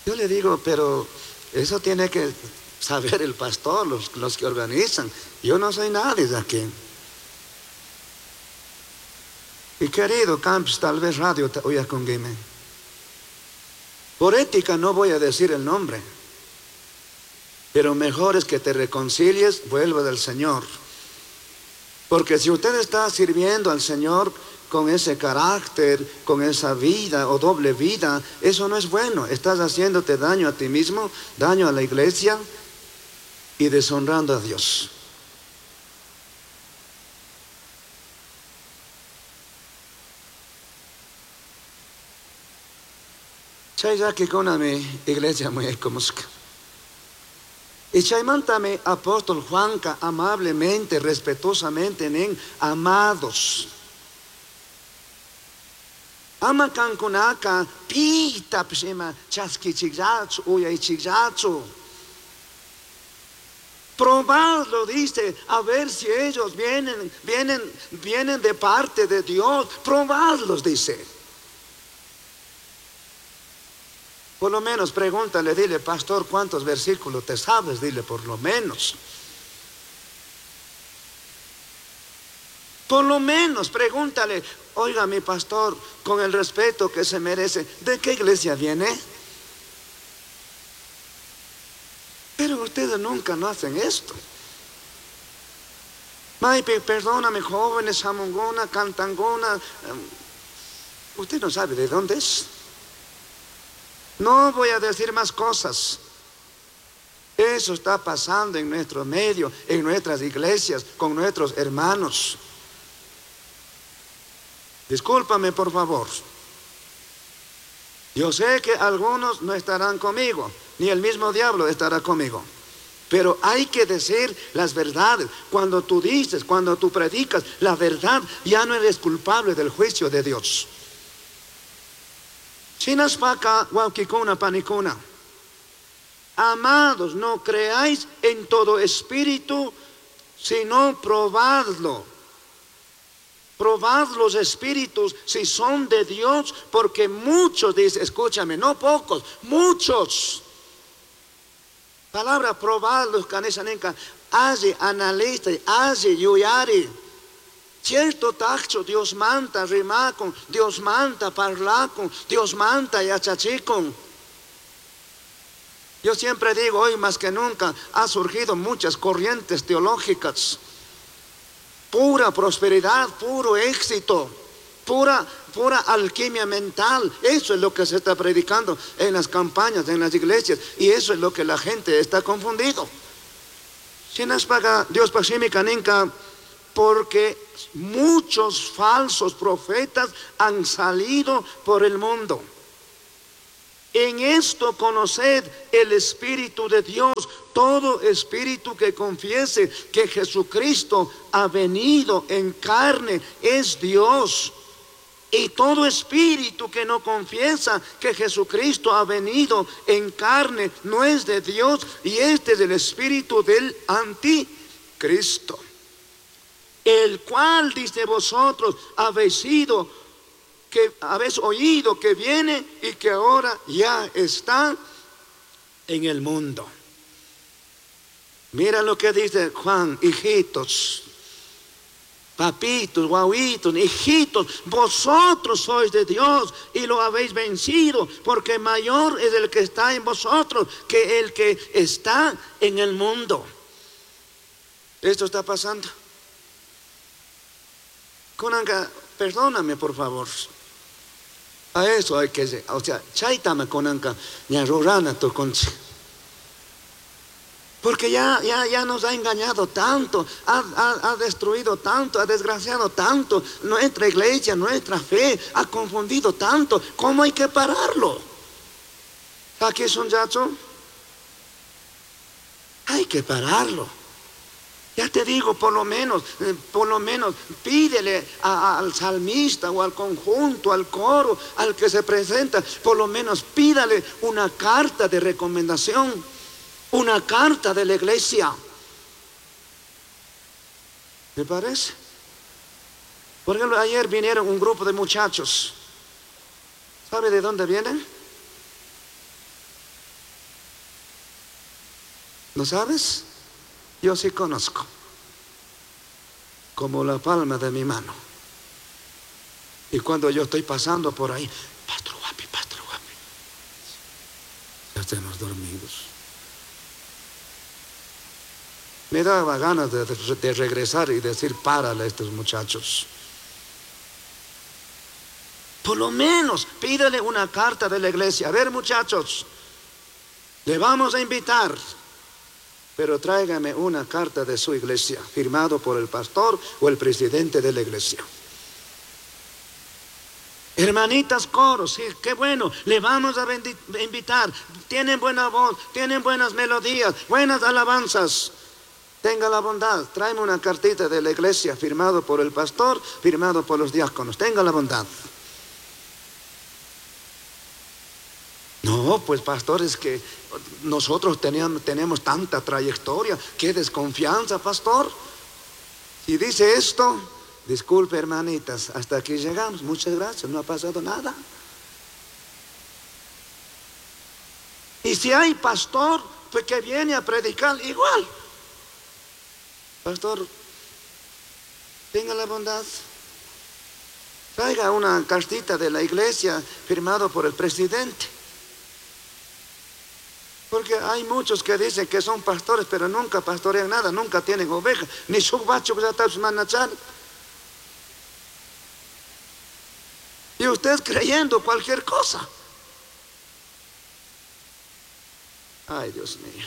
Yo le digo, pero eso tiene que saber el pastor, los que organizan. Yo no soy nadie de aquí. Y querido Camps, tal vez radio te oiga con Guime. Por ética no voy a decir el nombre, pero mejor es que te reconcilies, vuelva del Señor. Porque si usted está sirviendo al Señor con ese carácter, con esa vida o doble vida, eso no es bueno. Estás haciéndote daño a ti mismo, daño a la iglesia y deshonrando a Dios. Chay mi iglesia muy ecomusca. Y chaymantame apóstol Juanca amablemente, respetuosamente, en amados. Ama kankunaka pita pshima chaskichigzachu uyaychigzachu. Probadlo, dice, a ver si ellos vienen de parte de Dios. Probadlos, dice. Por lo menos pregúntale, dile, pastor, ¿cuántos versículos te sabes? Dile, por lo menos. Por lo menos pregúntale, oiga, mi pastor, con el respeto que se merece, ¿de qué iglesia viene? Pero ustedes nunca no hacen esto. Maype, perdóname, jóvenes, jamongona, cantangona. Usted no sabe de dónde es. No voy a decir más cosas. Eso está pasando en nuestro medio, en nuestras iglesias, con nuestros hermanos. Discúlpame, por favor. Yo sé que algunos no estarán conmigo, ni el mismo diablo estará conmigo. Pero hay que decir las verdades. Cuando tú dices, cuando tú predicas la verdad, ya no eres culpable del juicio de Dios. Chinaspaka, wauquicuna, panicuna. Amados, no creáis en todo espíritu, sino probadlo. Probad los espíritus si son de Dios, porque muchos, dice, escúchame, no pocos, muchos. Palabra probadlos, canesanenca, hace, analiza, hace, yuyari. Cierto tacho, Dios manta, rimacon, Dios manta, parlacon, Dios manta, yachachicon. Yo siempre digo, hoy más que nunca, ha surgido muchas corrientes teológicas. Pura prosperidad, puro éxito, pura, pura alquimia mental. Eso es lo que se está predicando en las campañas, en las iglesias, y eso es lo que la gente está confundido. Dios porque muchos falsos profetas han salido por el mundo. En esto conoced el Espíritu de Dios. Todo espíritu que confiese que Jesucristo ha venido en carne es Dios. Y todo espíritu que no confiesa que Jesucristo ha venido en carne no es de Dios. Y este es el espíritu del anticristo. El cual, dice vosotros, habéis sido, que habéis oído que viene y que ahora ya está en el mundo. Mira lo que dice Juan, hijitos, papitos, guauitos, hijitos, vosotros sois de Dios y lo habéis vencido, porque mayor es el que está en vosotros que el que está en el mundo. Esto está pasando. Kunanka, perdóname por favor. A eso hay que, o sea, chaitama kunanka, ña rurana tukunchik. Porque ya, ya, ya nos ha engañado tanto, ha, ha, destruido tanto, ha desgraciado tanto nuestra iglesia, nuestra fe, ha confundido tanto. ¿Cómo hay que pararlo? ¿Aquí es un yacho? Hay que pararlo. Ya te digo, por lo menos, por lo menos, pídele al salmista o al conjunto, al coro, al que se presenta, por lo menos pídale una carta de recomendación, una carta de la iglesia. ¿Me parece? Por ejemplo, ayer vinieron un grupo de muchachos. ¿Sabe de dónde vienen? ¿No sabes? Yo sí conozco, como la palma de mi mano. Y cuando yo estoy pasando por ahí, Pastor Guapi, Pastor Guapi, ya estamos dormidos. Me daba ganas de, de regresar y decir, párale a estos muchachos. Por lo menos pídale una carta de la iglesia. A ver, muchachos, le vamos a invitar pero tráigame una carta de su iglesia, firmado por el pastor o el presidente de la iglesia. Hermanitas coros, sí, qué bueno, le vamos a invitar. Tienen buena voz, tienen buenas melodías, buenas alabanzas. Tenga la bondad, tráeme una cartita de la iglesia, firmado por el pastor, firmado por los diáconos. Tenga la bondad. No, pues pastor, es que nosotros teníamos, tenemos tanta trayectoria. Qué desconfianza, pastor. Si dice esto, disculpe hermanitas, hasta aquí llegamos. Muchas gracias, no ha pasado nada. Y si hay pastor, pues que viene a predicar igual. Pastor, tenga la bondad. Traiga una cartita de la iglesia firmado por el presidente. Porque hay muchos que dicen que son pastores, pero nunca pastorean nada, nunca tienen ovejas, ni su bacho Y usted creyendo cualquier cosa. Ay, Dios mío.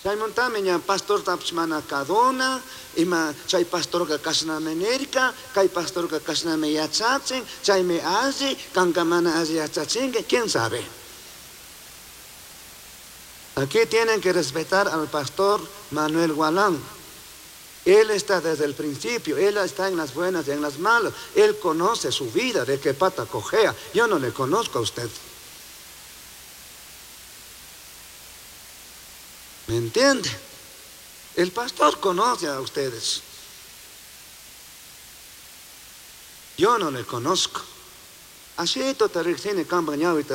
Chaymantami ña pastortapish mana kaduna, ima chay pastorka kashnami nirka, kay pastorka kashnami yachachin, chaymi alli, kanka mana alli yachachinki, quién sabe. Aquí tienen que respetar al pastor Manuel Gualán. Él está desde el principio, él está en las buenas y en las malas. Él conoce su vida, de qué pata cojea. Yo no le conozco a usted. ¿Me entiende? El pastor conoce a ustedes. Yo no le conozco. Así te campaña y te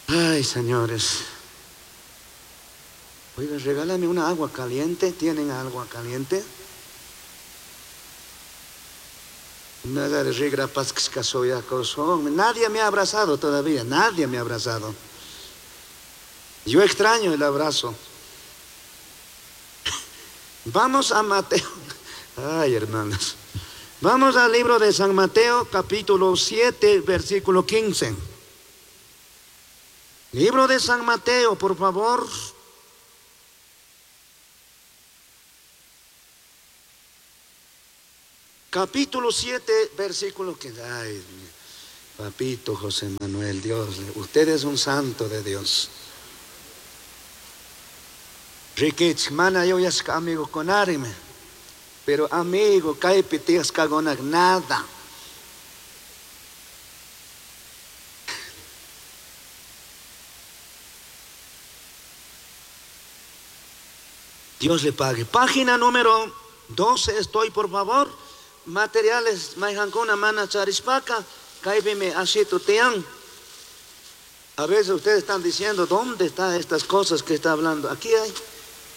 Ay, señores. Oiga, regálame una agua caliente. ¿Tienen agua caliente? Nadie me ha abrazado todavía, nadie me ha abrazado. Yo extraño el abrazo. Vamos a Mateo. Ay, hermanos. Vamos al libro de San Mateo, capítulo 7, versículo 15. Libro de San Mateo, por favor. Capítulo 7, versículo 15. Ay, papito José Manuel, Dios, usted es un santo de Dios. Riquich, mana yo ya amigo con arime. Pero amigo, kaypi tiyasqakunak nada. Dios le pague. Página número 12, estoy por favor. Materiales, mayhankuna mana charispaka, kaypimi ashitu tiyan. A veces ustedes están diciendo, ¿dónde están estas cosas que está hablando? Aquí hay.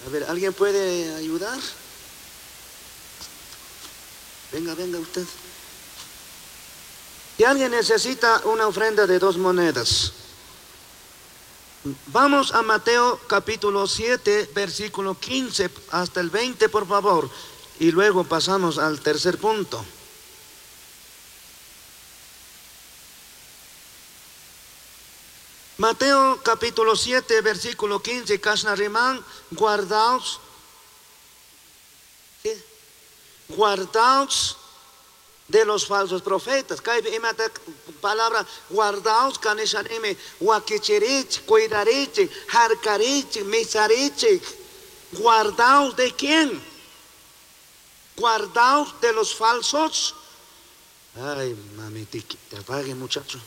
A ver, ¿alguien puede ayudar? Venga, venga usted. Si alguien necesita una ofrenda de 2 monedas. Vamos a Mateo capítulo 7, versículo 15 hasta el 20, por favor. Y luego pasamos al tercer punto. Mateo capítulo 7, versículo 15, Kashna Rimán, guardaos. ¿Sí? Guardaos de los falsos profetas. Kaibe imata palabra guardaos kanishanime wakichirich, cuidarich, harkarich, misarich. Guardaos de quién? Guardaos de los falsos. Ay, mami, te apague, muchacho.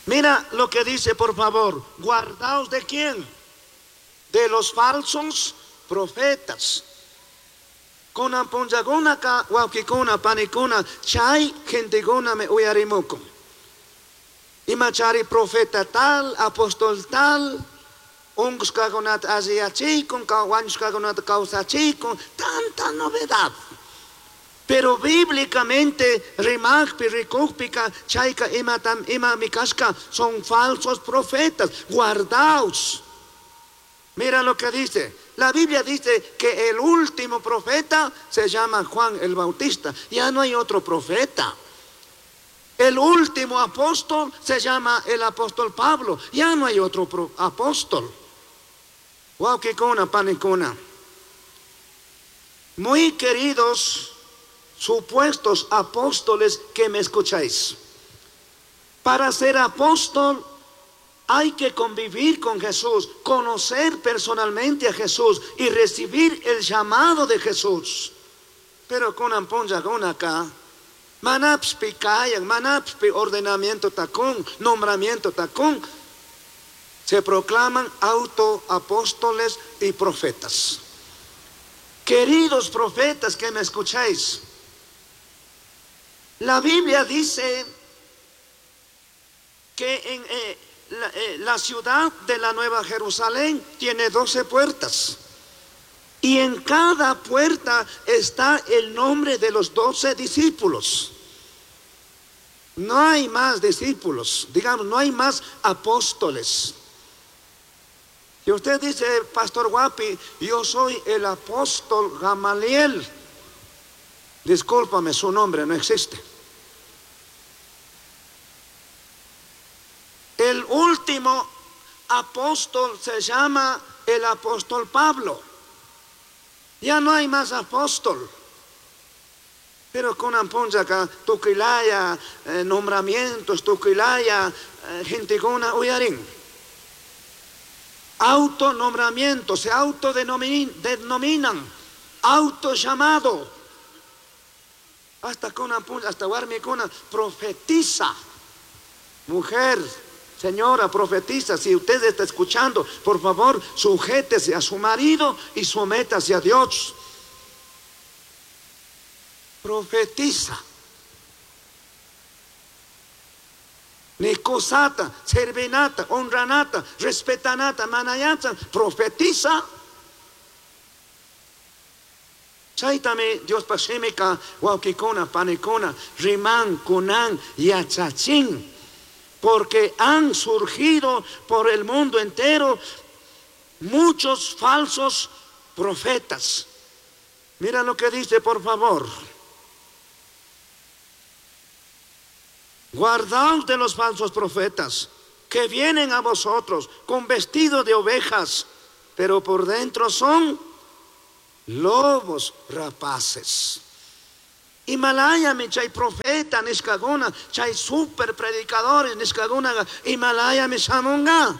Mira lo que dice, por favor. Guardaos de quién? De los falsos profetas. Kuna punllakuna ka wawkikuna panikuna chay gentekuna me uyarimukun. Imachari profeta tal, apóstol tal, unqusqakunata alliyachikun, wañushqakunata kawsachikun, tanta novedad. Pero bíblicamente, rimaqpi, rikukpika, chayka imatam imami kashka, son falsos profetas. Guardaos. Mira lo que dice. La Biblia dice que el último profeta se llama Juan el Bautista. Ya no hay otro profeta. El último apóstol se llama el apóstol Pablo. Ya no hay otro apóstol. Wawkikuna, panikuna. Muy queridos supuestos apóstoles que me escucháis. Para ser apóstol hay que convivir con Jesús, conocer personalmente a Jesús y recibir el llamado de Jesús. Pero con amponja con acá, manapspi kayan, manapspi ordenamiento tacón, nombramiento tacón, se proclaman autoapóstoles y profetas. Queridos profetas que me escucháis, la Biblia dice que en la ciudad de la Nueva Jerusalén tiene 12 puertas. Y en cada puerta está el nombre de los 12 discípulos. No hay más discípulos, digamos, no hay más apóstoles. Y usted dice, Pastor Guapi, yo soy el apóstol Gamaliel. Discúlpame, su nombre no existe. El último apóstol se llama el apóstol Pablo. Ya no hay más apóstol. Pero con amponja tuquilaya, nombramientos, tuquilaya, gentegona, uyarín. Autonombramiento, se autodenominan, autollamado. Hasta con amponja, hasta guarmicona, profetiza. Mujer, señora, profetiza. Si usted está escuchando, por favor, sujétese a su marido y sométase a Dios. Profetiza. Nicosata, servinata, honranata, respetanata, manayata, profetiza. Chaitame Dios pashimika, wawkikuna, panikuna, riman, kunan, yachachin. Porque han surgido por el mundo entero muchos falsos profetas. Mira lo que dice, por favor. Guardaos de los falsos profetas que vienen a vosotros con vestido de ovejas, pero por dentro son lobos rapaces. Himalaya mi chay profeta nishkaguna, chay super predicadores nishkaguna, Himalaya mi shamunga.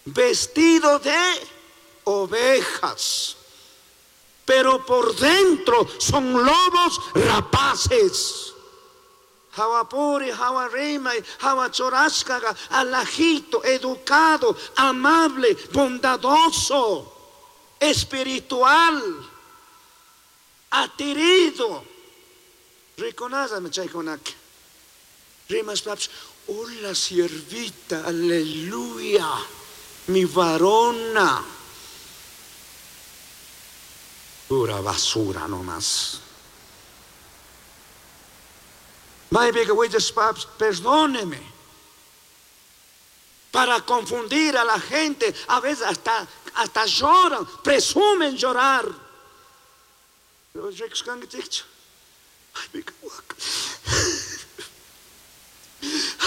Vestido de ovejas, pero por dentro son lobos rapaces. Hawapuri, hawarima, hawachorashkaga, alajito, educado, amable, bondadoso, espiritual, atirido. Riconázame, chaykunak. Rimas paps, hola siervita, aleluya, mi varona. Pura basura nomás. Perdóneme. Para confundir a la gente, a veces hasta lloran, presumen llorar.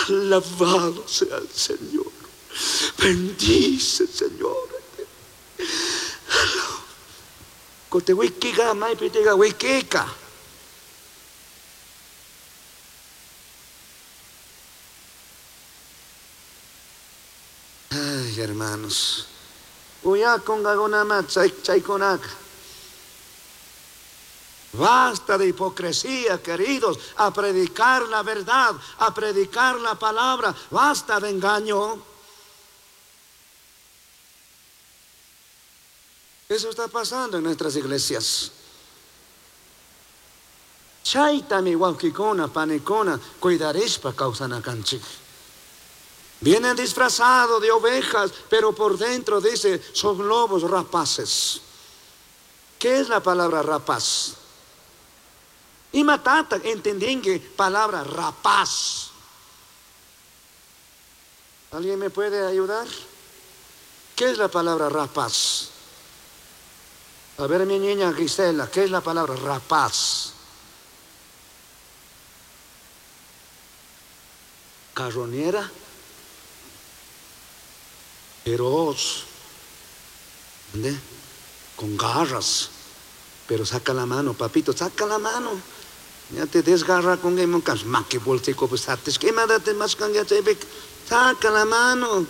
Alabado sea el Señor. Bendice, Señor. Ay, hermanos. Basta de hipocresía, queridos, a predicar la verdad, a predicar la palabra. Basta de engaño. Eso está pasando en nuestras iglesias. Chaytami wawkikuna, panikuna, cuidarishpa kawsanakanchik. Vienen disfrazados de ovejas, pero por dentro dice, son lobos rapaces. ¿Qué es la palabra rapaz? Y matata, entendí que palabra rapaz. ¿Alguien me puede ayudar? ¿Qué es la palabra rapaz? A ver, mi niña Gisela, ¿qué es la palabra rapaz? Carroñera. Feroz, ¿dónde? Con garras, pero saca la mano, papito, saca la mano. Ya te desgarra con el saca la mano.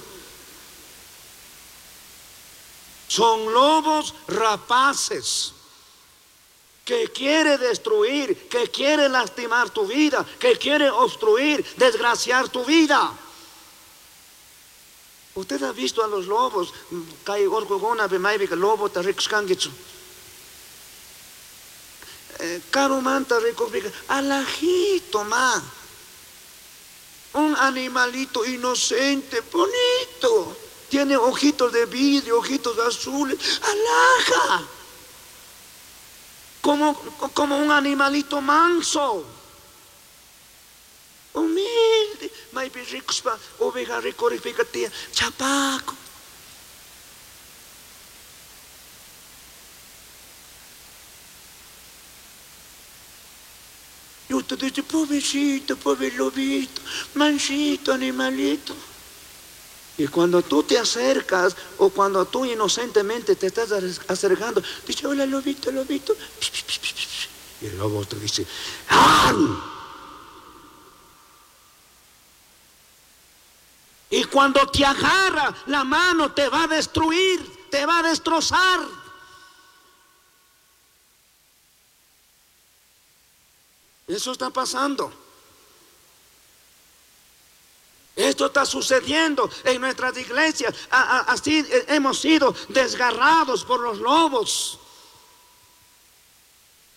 Son lobos rapaces que quiere destruir, que quiere lastimar tu vida, que quiere obstruir, desgraciar tu vida. Usted ha visto a los lobos, lobo alajito ma. Un animalito inocente, bonito. Tiene ojitos de vidrio, ojitos azules. Alaja. Como un animalito manso. Humilde. Maypi rikuspa oveja rikurikpika tiyan chapaco. Y usted dice, pobrecito, pobre lobito, mansito, animalito. Y cuando tú te acercas o cuando tú inocentemente te estás acercando, dice, hola lobito, lobito. Y el lobo te dice, ¡ah! Y cuando te agarra la mano te va a destruir, te va a destrozar. Eso está pasando. Esto está sucediendo en nuestras iglesias. Así hemos sido desgarrados por los lobos.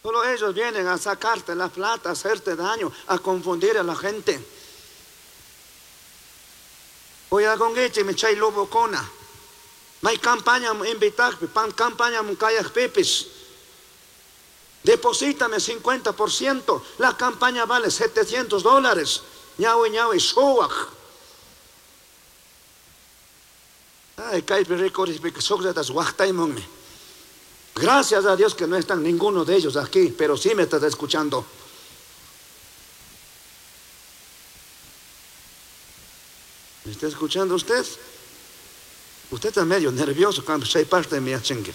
Solo ellos vienen a sacarte la plata, a hacerte daño, a confundir a la gente. Oye, me chay lobo cona. May campaña invitar, pan campaña muncayas pepes. Deposítame 50%. La campaña vale $700. Ñawi ñawi suwaj. Ay, kaypi rikurishpika shukllatas waqtaymunmi. Gracias a Dios que no están ninguno de ellos aquí, pero sí me estás escuchando. ¿Me está escuchando usted? Usted está medio nervioso cuando se parte de mi achengue.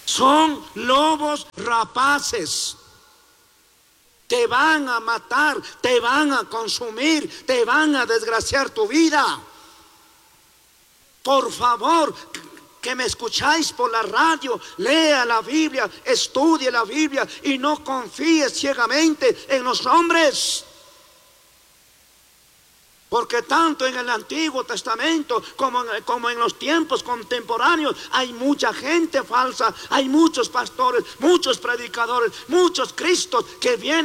Son lobos rapaces. Te van a matar, te van a consumir, te van a desgraciar tu vida. Por favor, que me escucháis por la radio, lea la Biblia, estudie la Biblia y no confíes ciegamente en los hombres. Porque tanto en el Antiguo Testamento como en, como en los tiempos contemporáneos hay mucha gente falsa, hay muchos pastores, muchos predicadores, muchos cristos que vienen.